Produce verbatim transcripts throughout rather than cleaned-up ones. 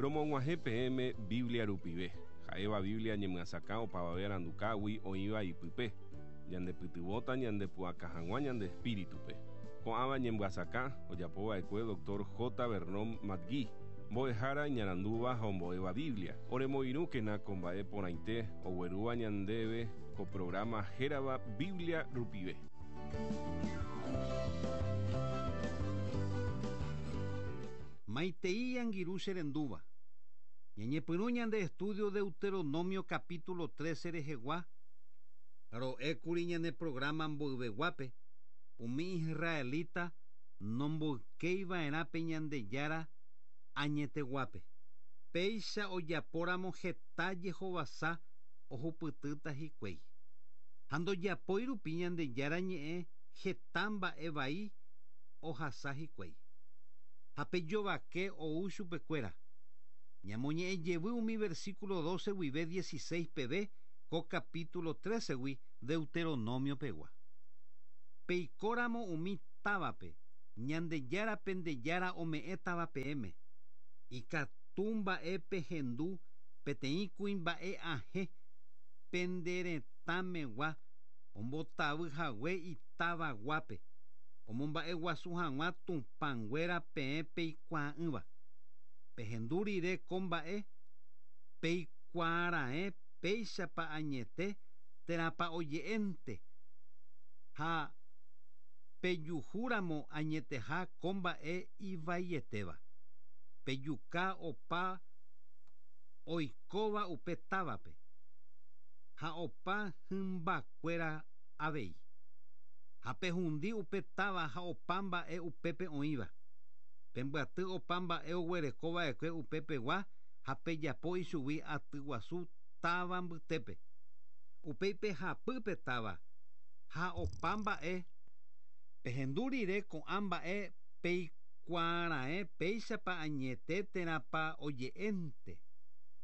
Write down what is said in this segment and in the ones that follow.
Romog̃uahẽ peẽme Biblia rupive. Ha'éva Biblia ñemyasakã opavave arandukágui oĩva ipype. Ñandepytyvõta ñandepu'aka hag̃ua ñande espíritupe. Ko'ãva ñemyasakã ojapova'ekue doctor J. Vernon McGee. Mbo'ehára iñarandúva ha ombo'éva Biblia. Oremoirũkena ko mba'e porãite oguerúva ñandéve ko programa hérava Biblia rupive. Maitei angirũ cherendúva. Ñañepyrũ ñande estudio Deuteronomio capítulo trece rehegua. Ro'ékuri ñane programa mboyveguápe. Umi israelita nomboykeiva'erã pe Ñandejára añeteguápe. Péicha ojapóramo heta jehovasa ohupytýta hikuái. Ha ndojapói rupi Ñandejára ñe'ẽ heta mba'e vai ohasa hikuái. Ha pejovake ou chupekuéra. Ñamoñe'ẽ jevy umi versículo doce guive dieciséis peve ko capítulo trece gui Deuteronomio pegua. Peikóramo umi távape Ñandejára pendejára ome'ẽtava peẽme. Ikatu mba'e pehendu peteĩ kuimba'e ahẽ penderetãmegua ombotavyhague itavaguápe omomba'eguasu hag̃ua tupãnguéra peẽ peikuaa'ỹva. Pehendu rire ko mba'e peikuaaraẽ péichapa añete térãpa oje'énte ha pejuhúramo añeteha ko mba'e ivaietéva. Pejuka opa oikóva upe távape ha opa hymbakuéra avei. Ha pehundi upe táva ha opa mba'e upépe oĩva. Pembyaty opa mba'e oguerekova'ekue upepegua ha pejapo ichugui atyguasu táva mbytépe. Upéi pehapy táva ha opa mba'e pehendu rire ko'ã mba'e peikuaaraẽ péichapa añete térãpa oje'énte.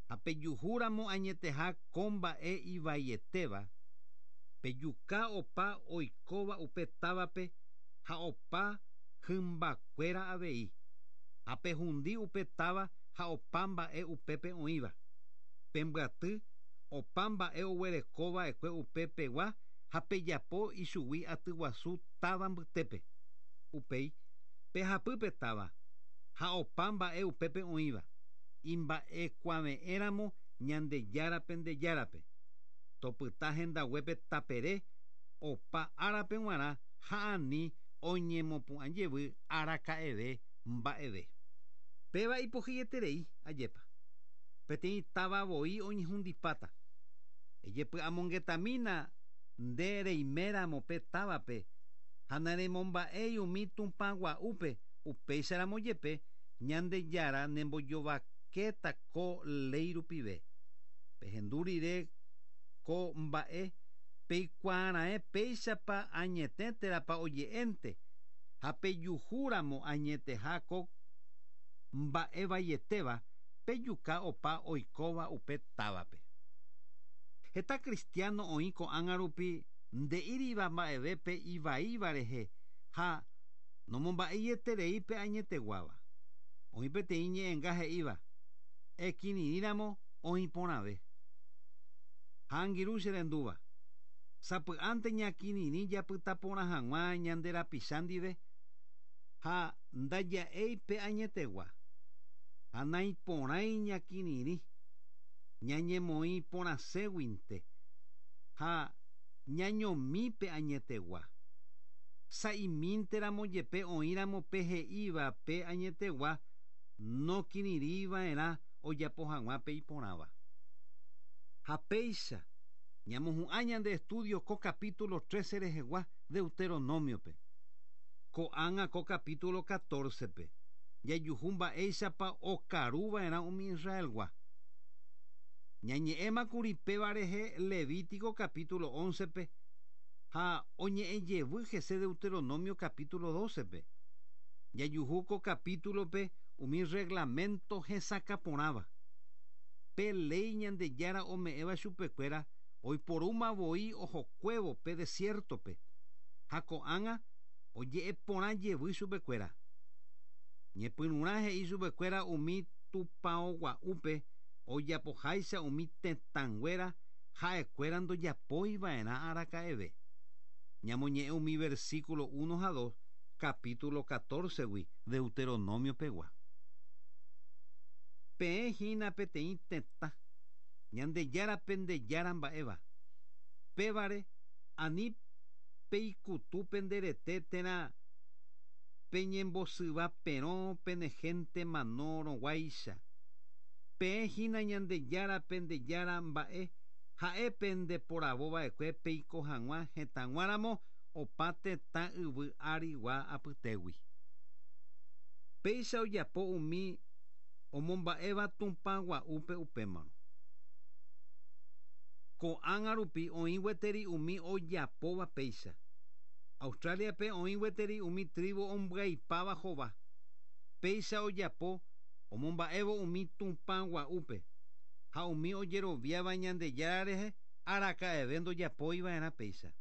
Ha pejuhúramo añeteha ko mba'e ivaietéva pejuka opa oikóva upe távape ha opa hymbakuéra avei. Ha pehundi upe táva ha opa mba'e upépe oĩva. Pembyaty opa mba'e oguerekova'ekue upepegua ha pejapo ichugui atyguasu táva mbytépe. Upéi pehapy táva ha opa mba'e upépe oĩva. Imba'ekuave'ẽramo Ñandejára pendejárape. Topyta hendaguépe tapere opa árape g̃uarã ha ani oñemopu'ãjevy araka'eve mba'eve. Péva ipohyeterei ajépa. Peteĩ táva voi oñehundipáta. Ejepy'amongetamína nde reiméramo pe távape ha neremomba'éi umi tupãgua'úpe upéicharamo jepe Ñandejára nembojovakéta ko léi rupive. Pehendu rire ko mba'e peikuaaraẽ péichapa añete térãpa oje'énte ha pejuhúramo añeteha ko mba'e vaietéva pejuka opa oikóva upe távape. Heta cristiano oĩ ko'ág̃a rupi nde'íriva mba'evépe ivaíva rehe ha nomomba'eieterei pe añeteguáva. Oĩ peteĩ ñe'ẽnga he'íva ekirirĩramo oĩ porãve. Ha angirũ cherendúva. Sapy'ánte ñakirirĩ japyta porã hag̃ua ñande rapicha ndive ha ndaja'éi pe añetegua. Ha naiporãi ñakirirĩ ñañemoĩ porãséguinte ha ñañomi pe añetegua. Sa'imínteramo jepe oĩramo pe he'íva pe añetegua nokirirĩva'erã ojapo hag̃ua pe iporãva. Ha péicha ñamohu'ã ñande estudio ko capítulo trece rehegua Deuteronomiope. Ko'ág̃a ko capítulo catorce-pe jajuhu mba'éichapa okaruva'erã umi Israelgua. Ñañe'ẽmakuri péva rehe Levítico capítulo once-pe ha oñe'ẽjevy hese Deuteronomio capítulo doce-pe. Jajuhu ko capítulo-pe umi reglamento hesakãporãva. Pe léi Ñandejára ome'ẽva chupekuéra oiporúma voi ohokuévo pe desierto-pe. Ha ko'ág̃a oje'eporã jevy chupekuéra. Ñepyrũrã he'i chupekuéra umi tupão gua'úpe ojapoháicha umi tetãnguéra ha'ekuéra ndojapoiva'erã araka'eve. Ñamoñe'ẽ umi versículo uno ha dos capítulo catorce-gui Deuteronomio pegua. Peẽ hína peteĩ tetã Ñandejára pendejára mba'éva. Pévare ani peikutu penderete térã peñembosyva perõ pene gente manórõguáicha. Peẽ hína Ñandejára pendejára mba'e ha'e pendeporavova'ekue peiko hag̃ua hetãguáramo opa tetã yvy arigua apytégui. Péicha ojapo umi omomba'éva Tupã gua'úpe upémarõ. Ko'ág̃a rupi oĩ gueteri umi ojapóva péicha. Australiape oĩ gueteri umi tribu ombyaipáva hova. Péicha ojapo omomba'évo umi Tupã gua'úpe ha umi ojeroviáva Ñandejára rehe araka'eve ndojapoiva'erã péicha.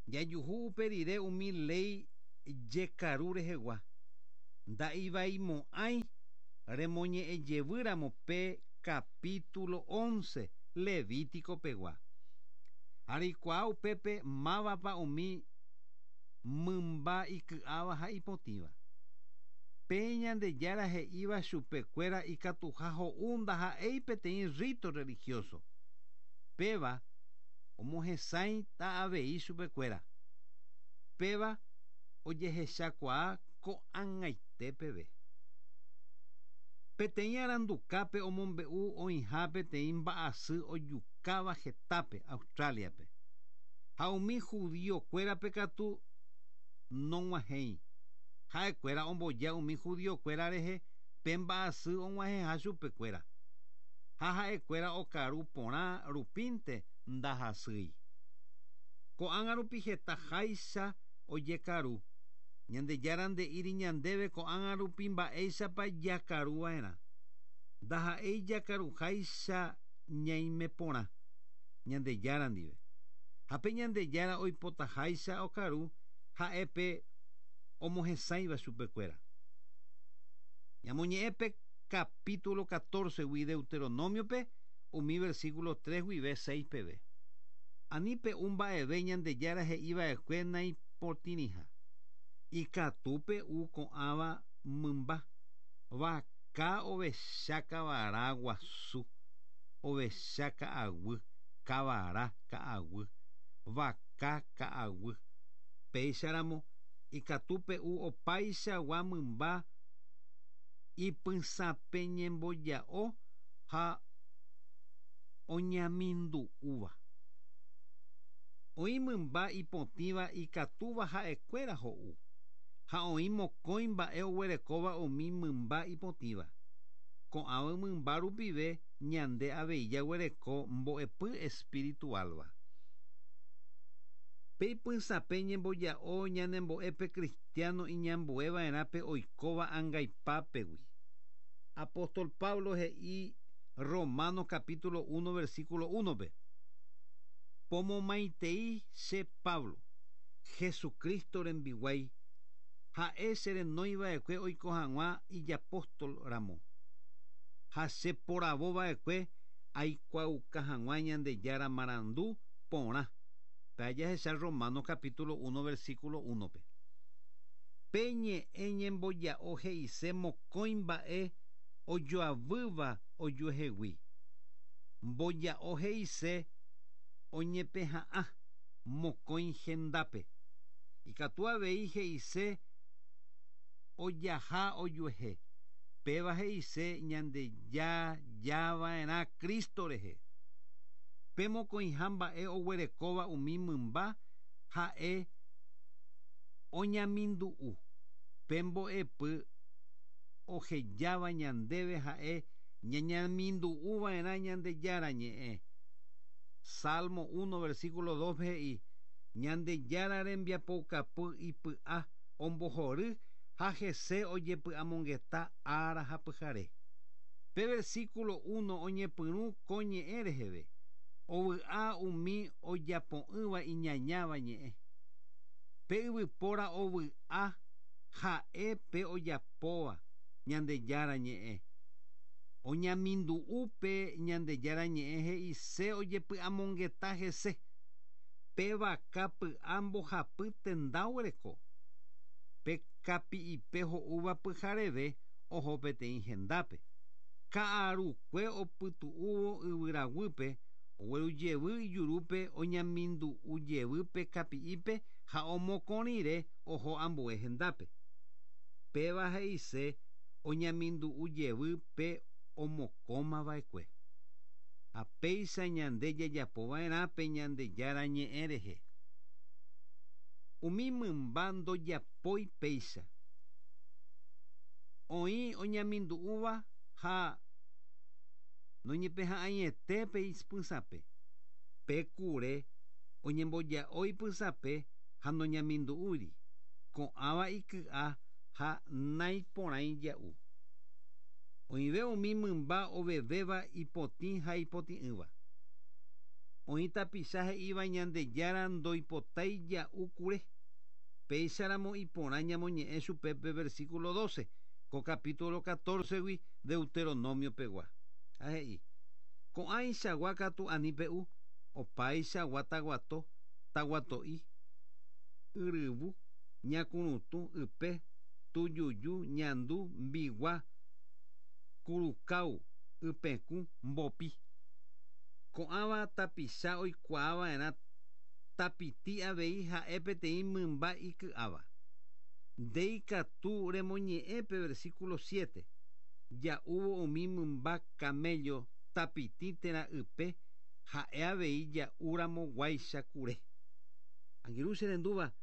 Jajuhu upe rire umi léi jekaru rehegua. Nda'ivaimo'ãi remoñe'ẽjevýramo pe capítulo once Levítico pegua. Areikuaa upépe mávapa umi mymba iky'áva ha ipotĩva. Pe Ñandejára he'íva chupekuéra ikatuha ho'u ndaha'éi peteĩ rito religioso. Péva omohesãita avei chupekuéra. Péva ojehechakuaa ko'ag̃aite peve. Peteĩ arandukápe omombe'u oĩha peteĩ mba'asy ojukáva hetápe Australiape. Ha umi judiokuérape katu nog̃uahẽi. Ha'ekuéra omboja umi judiokuéra rehe pe mba'asy og̃uahẽha chupekuéra. Ha ha'ekuéra okaru porã rupínte ndahasýi. Ko'ág̃a rupi hetaháicha ojekaru. Ñandejára nde'íri ñandéve ko'ág̃a rupi mba'éichapa jakaruva'erã. Ndaha'éi jakaruháicha ñaime porã Ñandejára ndive. Ha pe Ñandejára oipotaháicha okaru ha'e pe omohesãiva chupekuéra. Ñamoñe'ẽ pe capítulo catorce-gui Deuteronomio-pe umi versículo tres guive seis peve. Ani pe'u mba'eve Ñandejára he'iva'ekue naipotĩriha. Ikatu pe'u ko'ãva mymba vaka ovecha kavara guasu, ovecha ka'aguy, kavara ka'aguy, vaka ka'aguy. Péicharamo ikatu pe'u opaichagua mymba ipysãpe ñemboja'o ha oñamindu'úva. Oĩ mymba ipotĩva ikatúva ha'ekuéra ho'u. Ha oĩ mokõi mba'e oguerekóva umi mymba ipotĩva. Ko'ãva mymba rupive ñande avei jaguereko mbo'epy espiritualva. Pe ipysãpe ñemboja'o ñanembo'épe cristiano iñambueva'erã pe oikóva angaipápegui. Apóstol Pablo he'i Romanos capítulo uno versículo uno-pe. Pomomaitei che Pablo, Jesucristo rembiguái, ha'e cherenóiva'ekue oiko hag̃ua ijapóstol ramo. Ha cheporavova'ekue aikuaauka hag̃ua Ñandejára marandu porã. Pe jahecha Romanos capítulo uno versículo uno-pe. Pe ñe'ẽ ñemboja'o he'ise mokõi mba'e ojoavýva ojuehegui. Mboja'o he'ise oñepeha'ã mokõi hendápe. Ikatu avei he'ise ojaha ojuehe. Péva he'ise Ñandejajava'erã Cristo rehe. Pe mokõiha mba'e oguerekóva umi mymba ha'e oñamindu'u. Pe mbo'epy ohejáva ñandéve ha'e ñañamindu'uva'erã Ñandejára ñe'ẽ. Salmo uno versículo dos he'i Ñandejára rembiapoukapy ipy'a ombohory ha hese ojepy'amongeta ára ha pyhare. Pe versículo uno oñepyrũ ko ñe'ẽ reheve. Ovy'a umi ojapo'ỹva iñañáva ñe'ẽ. Pe yvypóra ovy'a ha'e pe ojapóva Ñandejára ñe'ẽ. Oñamindu'u pe Ñandejára ñe'ẽ he'ise ojepy'amongeta hese. Pe vaka py'a mbohapy tenda oguereko. Pe kapi'ipe ho'úva pyhareve oho peteĩ hendápe. Ka'arukue opytu'úvo yvyraguýpe oguerujevy ijurúpe oñamindu'ujevy pe kapi'ipe ha omokõrire oho ambue hendápe. Péva he'ise oñamindu'ujevy pe omokõmava'ekue. Ha péicha ñande jajapova'erã pe Ñandejára ñe'ẽ rehe. Umi mymba ndojapói péicha. Oĩ oñamindu'úva ha noñepeha'ãiete pe ipysãpe. Pe kure oñemboja'o ipysãpe ha noñamindu'úiri. Ko'ãva iky'a ha naiporãi ja'u. Oĩve umi mymba ovevéva ipotĩ ha ipotĩ'ỹva. Oĩ tapicha he'íva Ñandejára ndoipotái ja'u kure. Péicharamo iporã ñamoñe'ẽ chupe pe versículo doce, ko capítulo catorce-gui Deuteronomio pegua. Ha he'i, ko'ãichagua katu ani pe'u, opaichagua taguato, taguato'i, yryvu, ñakurutũ, ype, tujuju, ñandu, mbigua, kurukáo, ypekũ, mbopi. Ko'ãva tapicha oikuaava'erã tapiti avei ha'e peteĩ mymba iky'áva. Ndeikatu remoñe'ẽ pe versículo siete. Ja'úvo umi mymba camello tapiti térã ype ha'e avei ja'úramo guáicha kure. Angirũ che rendúva,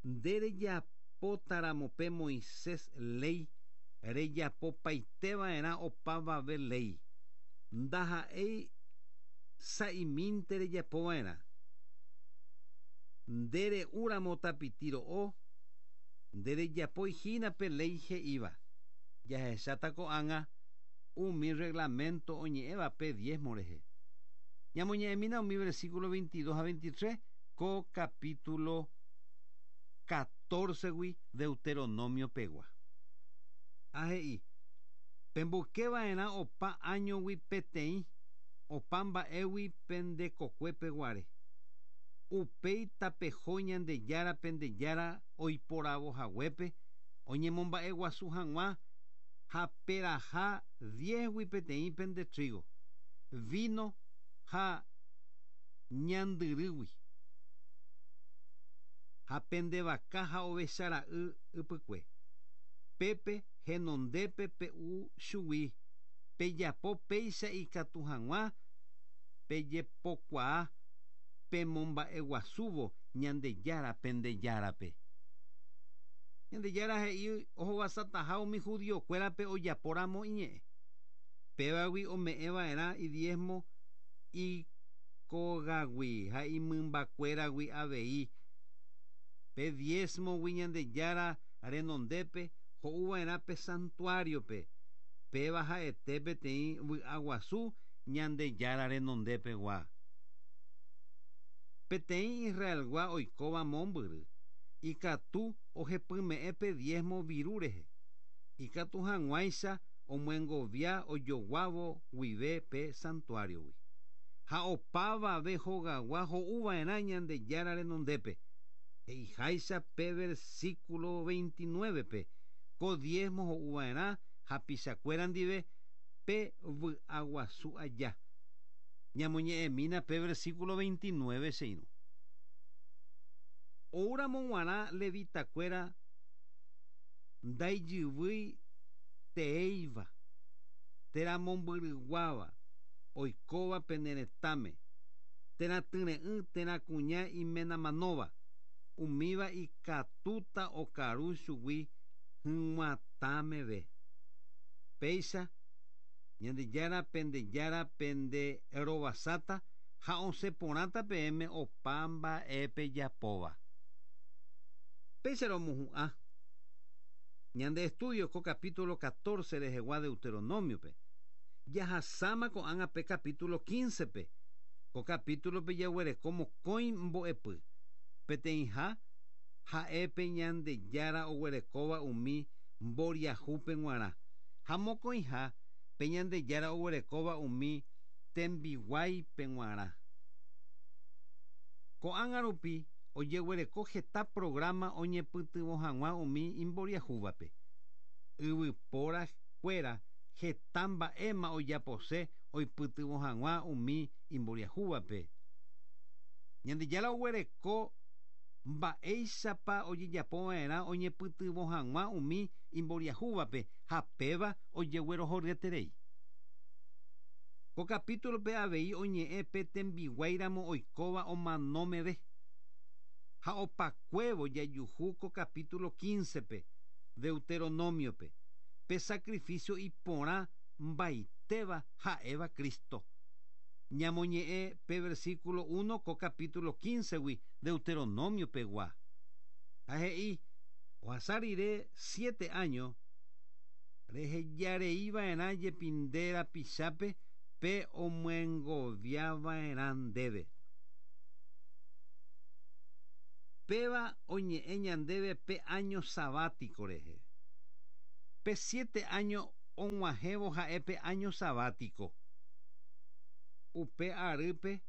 nde rejapótaramo pe Moisés léi rejapopaiteva'erã opavave léi. Ndaha'éi sa'imínte rejapova'erã. Nde re'úramo tapiti ro'o, nde rejapói hína pe léi he'íva. Jahecháta ko'ág̃a umi reglamento oñe'ẽva pe diezmo rehe. Ñamoñe'ẽmína umi versículo veintidós ha veintitrés ko capítulo catorce-gui Deuteronomio pegua. Ha he'i, pemboykeva'erã opa áñogui peteĩ, opa mba'égui pendekokue peguare. Upéi tapeho Ñandejára pendejára oiporavohaguépe oñemomba'eguasu hag̃ua ha peraha diezgui peteĩ pende trigo, vino ha ñandyrýgui. Ha pende vaka ha ovechara'y ypykue. Pépe henondépe pe'u chugui, pejapo péicha ikatu hag̃ua pejepokuaa pemomba'eguasúvo Ñandejára pendejárape. Ñandejára he'i ohovasataha umi judiokuérape ojapóramo iñe'ẽ. Pévagui ome'ẽva'erã idiezmo ikógagui ha imymbakuéragui avei. Pe diezmogui Ñandejára renondépe ho'uva'erã pe santuariope. Péva ha'ete peteĩ vy'aguasu Ñandejára renondépegua. Peteĩ Israelgua oikóva mombyry, ikatu ohepyme'ẽ pe diezmo viru rehe. Ikatu hag̃uáicha omyengovia ojoguávo guive pe santuariogui. Ha opavave hogagua ho'uva'erã Ñandejára renondépe. He'iháicha pe versículo veintinueve-pe, ko diezmo ho'uva'erã hapichakuéra ndive pe vy'aguasu aja. Ñamoñe'ẽmína pe versículo veintinueve che irũ. Oúramo g̃uarã levitakuéra ndaijyvýi teéiva, térã mombyryguáva, oikóva pene retãme, térã tyre'ỹ térã kuña imenamanóva, umíva ikatúta okaru chugui hyg̃uatãmeve. Péicha Ñandejára pendejára pende rovasáta ha osẽporãta peẽme opa mba'e pejapóva. Péicha romohu'ã ñande estudio ko capítulo catorce rehegua Deuteronomio-pe. Jahasáma ko'ág̃a pe capítulo quince-pe. Ko capítulo-pe jaguereko mokõi mbo'epy. Peteĩha ha'e pe Ñandejára oguerekóva umi mboriahúpe g̃uarã. Ha mokõiha Tape Ñandejára oguerekóva umi tembiguáipe g̃uarã. Ko'ág̃a rupi ojeguereko heta programa oñepytyvõ hag̃ua umi imboriahúvape. Yvyporakuéra heta mba'éma ojapose oipytyvõ hag̃ua umi imboriahúvape. Ñandejára oguereko mba'éichapa ojejapova'erã oñepytyvõ hag̃ua umi imboriahúvape ha péva ojeguerohoryeterei. Ko capítulope avei oñe'ẽ pe tembiguáiramo oikóva omanómeve. Ha opakuévo jajuhu ko capítulo quince-pe Deuteronomio-pe pe sacrificio iporã mbaitéva ha'éva Cristo. Ñamoñe'ẽ pe versículo uno ko capítulo quince-gui Deuteronomio-pegua. Ha he'i ohasa rire siete años rehejareiva'erã jepi nde rapichápe pe omyengoviava'erã ndéve. Péva oñe'ẽ ñandéve pe año sabático rehe. Pe siete años og̃uahẽvo ha'e pe año sabático. Upe arýpe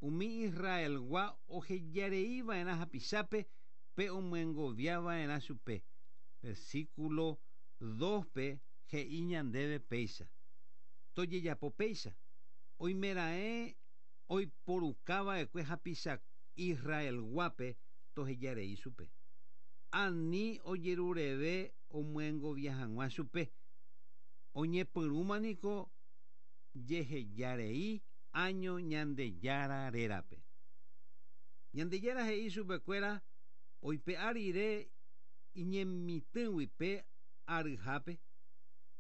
umi Israelgua ohejareiva'erã hapichápe pe omyengoviava'erã chupe. Versículo dos-pe he'i ñandéve péicha. Tojejapo péicha. Oimeraẽ oiporukava'ekue hapicha Israelguápe tohejarei chupe. Ani ojerureve omyengovia hag̃ua chupe. Oñepyrũmaniko jehejarei año Ñandejára rérape. Ñandejára he'i chupekuéra oipe'a rire iñemitỹgui pe aryhápe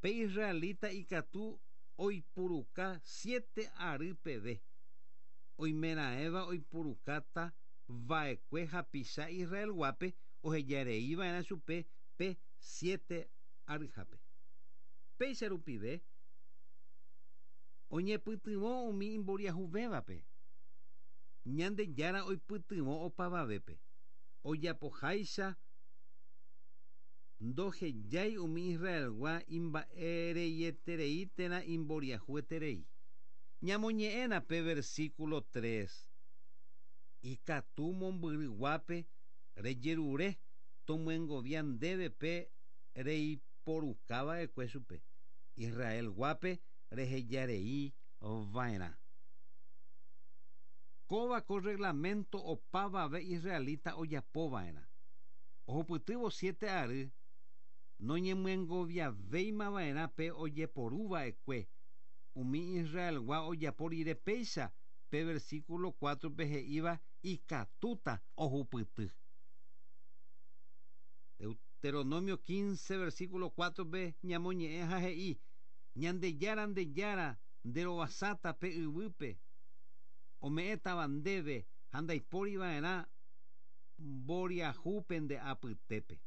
pe israelita ikatu oipuruka siete ary peve. Oimeraẽva oipurukáta va'ekue hapicha Israelguápe ohejareiva'erã chupe pe siete aryhápe. Péicha rupive oñepytyvõ umi imboriahuvévape. Ñandejára oipytyvõ opavavépe. Ojapoháicha ndohejái umi Israelgua imba'ereieterei térã imboriahueterei. Ñamoñe'ẽna pe versículo tres. Ikatu mombyryguápe rejerure tomyengovia ndéve pe reiporukava'ekue chupe. Israelguápe rehejarei va'erã. Kóva ko reglamento opavave israelita ojapova'erã. Ohupytývo siete ary noñemyengoviavéimava'erã pe ojeporuva'ekue. Umi Israelgua ojapo rire péicha pe versículo cuatro-pe he'íva ikatúta ohupyty. Deuteronomio quince versículo cuatro-pe ñamoñe'ẽ ha he'i Ñandejára ndejára nderovasáta pe yvýpe ome'ẽtava ndéve ha ndaipóriva'erã mboriahúpe nde apytépe.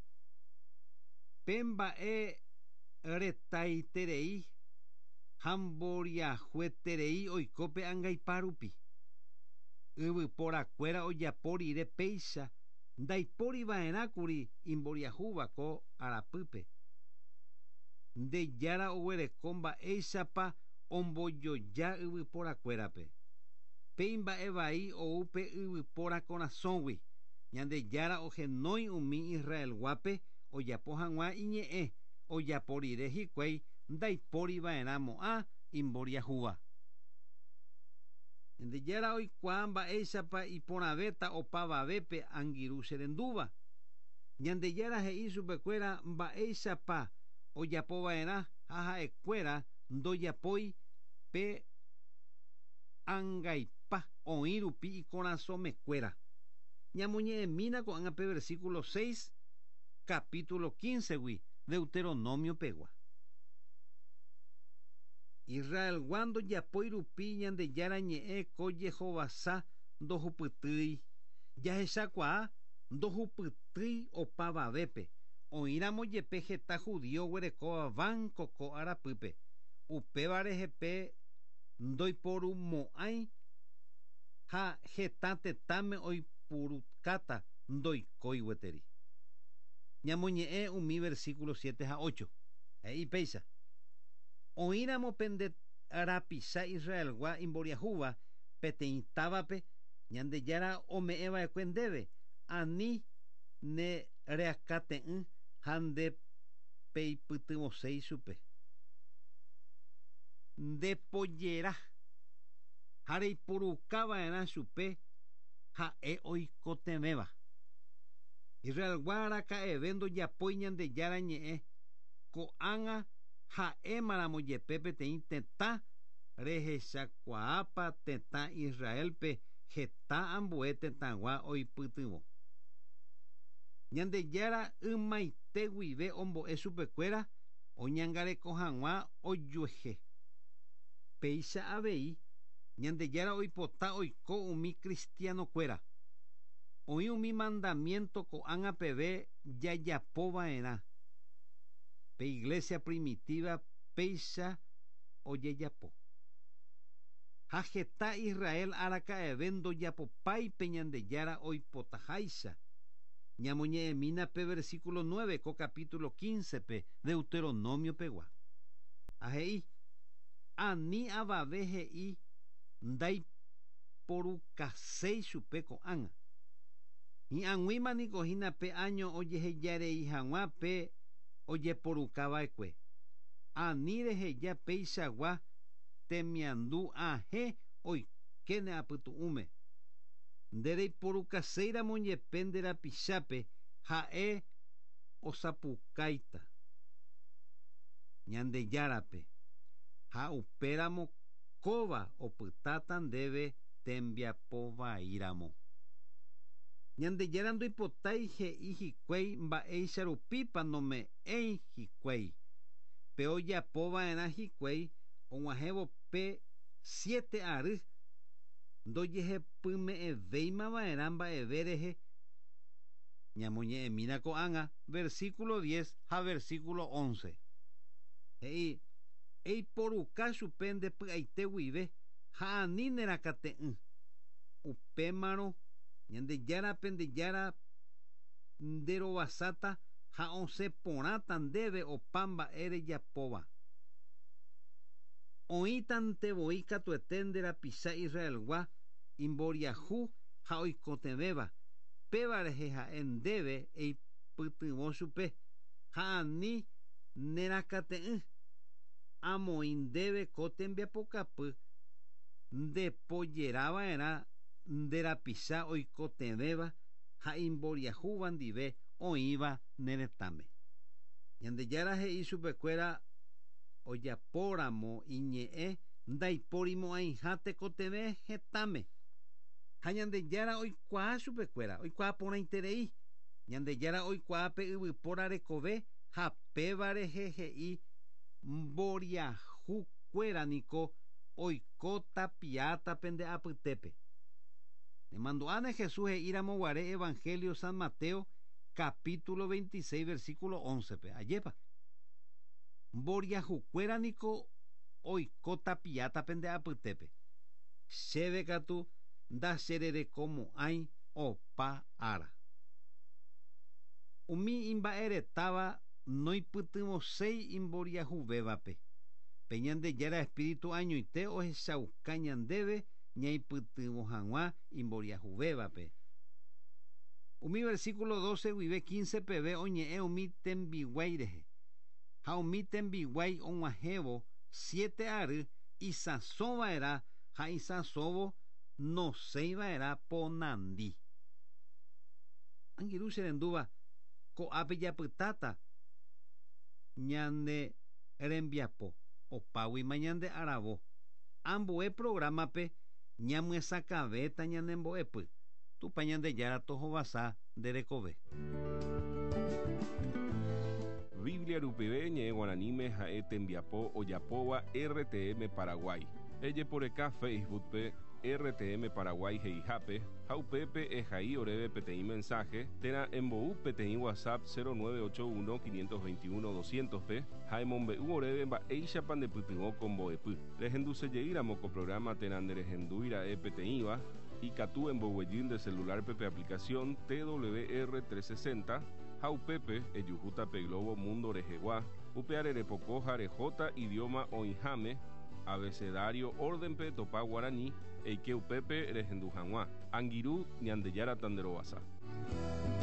Pe mba'e retaiterei ha mboriahueterei oiko pe angaipa rupi. Yvyporakuéra ojapo rire péicha ndaipóriva'erãkuri imboriahúva ko arapýpe. Ndejára oguereko mba'éichapa ombojoja yvyporakuérape. Pe imba'evai ou pe yvypóra korasõgui. Ñandejára ohenói umi Israelguápe ojapo hag̃ua iñe'ẽ ojapo rire hikuái ndaipóriva'erãmo'ã imboriahúva. Ñandejára oikuaa mba'éichapa iporãvéta opavavépe angirũ cherendúva. Ñandejára he'i chupekuéra mba'éichapa ojapova'erã ha ha'ekuéra ndojapói pe angaipa oĩ rupi ikorasõmekuéra. Ñamoñe'ẽmína ko'ág̃a pe versículo seis capítulo quince-gui Deuteronomio pegua. Israelgua ndojapói rupi Ñandejára ñe'ẽ ko jehovasa ndohupytýi. Jahechakuaa ndohupytýi opavavépe. Oĩramo jepe heta judío oguerekóva banco ko arapýpe. Upéva rehepe ndoiporumo'ãi ha heta tetãme oipurukáta ndoikói gueteri. Ñamoñe'ẽ umi versículo siete ha ocho. He'i péicha. Oĩramo pende rapicha Israelgua imboriahúva peteĩ távape Ñandejára ome'ẽva'ekue ndéve ani ne reakate'ỹ ha nde peipytyvõséi chupe. Ndepojera ha reiporukava'erã chupe ha'e oikotevẽva. Israelgua araka'eve ndojapói Ñandejára ñe'ẽ ko'ág̃a ha'émaramo jepe peteĩ tetã rehechakuaápa tetã Israelpe heta ambue tetãgua oipytyvõ. Ñandejára ymaite guive ombo'e chupekuéra oñangareko hag̃ua ojuehe. Péicha avei Ñandejára oipota oiko umi cristianokuéra. Oĩ umi mandamiento ko'ág̃a peve jajapova'erã. Pe iglesia primitiva péicha ojejapo. Ha heta Israel araka'eve ndojapopái pe Ñandejára oipotaháicha. Ñamoñe'ẽmína pe versículo nueve ko capítulo quince pe Deuteronomio pegua. Ha he'i ani avave he'i ndaiporukaséi chupe ko'ág̃a. Hi'ag̃uíma niko hína pe año ojehejarei hag̃ua pe ojeporukava'ekue. Ani reheja peichagua temiandu ahẽ oikéne apytu'ũme. Nde reiporukaséiramo jepe nde rapichápe ha'e osapukáita Ñandejárape ha upéramo kóva opytáta ndéve tembiapovaíramo. Ñandejára ndoipotái he'i hikuái mba'éicha rupípa nome'ẽi hikuái. Pe ojapova'erã hikuái og̃uahẽvo pe siete ary ndojehepyme'ẽvéimava'erã mba'eve rehe. Ñamoñe'ẽmína ko'ág̃a versículo diez ha versículo once. He'i eiporuka chupe nde py'aite guive ha ani nerakate'ỹ. Upémarõ Ñandejárape Ñandejára nderovasáta ha osẽ porãta ndéve opa mba'e rejapóva. Oĩtantevoi katuete nde rapicha Israelgua imboriahu ha oikotevẽva. Péva rehe ha'e ndéve eipytyvõ chupe ha ani nerakate'ỹ. Amoĩ ndéve ko tembiapokapy ndepojerava'erã nde rapicha oikotevẽva ha imboriahúva ndive oĩva ne retãme. Ñandejára he'i chupekuéra ojapóramo iñe'ẽ ndaiporimo'ãiha tekotevẽ hetãme. Ha Ñandejára oikuaa chupekuéra, oikuaa porãiterei. Ñandejára oikuaa pe yvypóra rekove ha péva rehe he'i mboriahukuéra niko oiko tapiáta pende apytépe. Nemandu'áne Jesús he'íramo guare Evangelio San Mateo capítulo veintiséis versículo once pe. Ajépa. Mboriahukuéra niko oiko tapiáta pende apytépe. Chéve katu ndachererekomo'ãi opa ára. Umi imba'eretáva noipytyvõséi imboriahuvévape. Pe Ñandejára Espíritu añoite ohechauka ñandéve ñaipytyvõ hag̃ua imboriahuvévape. Umi versículo doce guive quince peve oñe'ẽ umi tembiguái rehe. Ha umi tembiguái og̃uahẽvo siete ary isãsova'erã ha isãsóvo nosẽiva'erã ponandi. Angirũ che rendúva ko'ápe japytáta ñane rembiapo opáguima ñande aravo. Ambue programape ñamyesakãvéta ñane mbo'epy. Tupã Ñandejára tohovasa nde rekove. Biblia rupive ñe'ẽ guaraníme ha'e tembiapo ojapóva R T M Paraguay. Ejeporeka Facebook-pe R T M Paraguay he'ihápe ha upépe ehai oréve peteĩ mensaje térã embou peteĩ WhatsApp cero nueve ocho uno quinientos veintiuno doscientos pe ha emombe'u oréve mba'éichapa ndepytyvõ ko mbo'epy. Rehendusejeýramo ko programa térã nderehendúira'e peteĩva ikatu emboguejy nde celular-pe pe aplicación T W R trescientos sesenta ha upépe ejuhúta pe Globo Mundo rehegua Upe repoko ha rehóta idioma oĩháme abecedario órdenpe topa guarani eike upépe rehendu hag̃ua. Angirũ Ñandejára tanderovasa.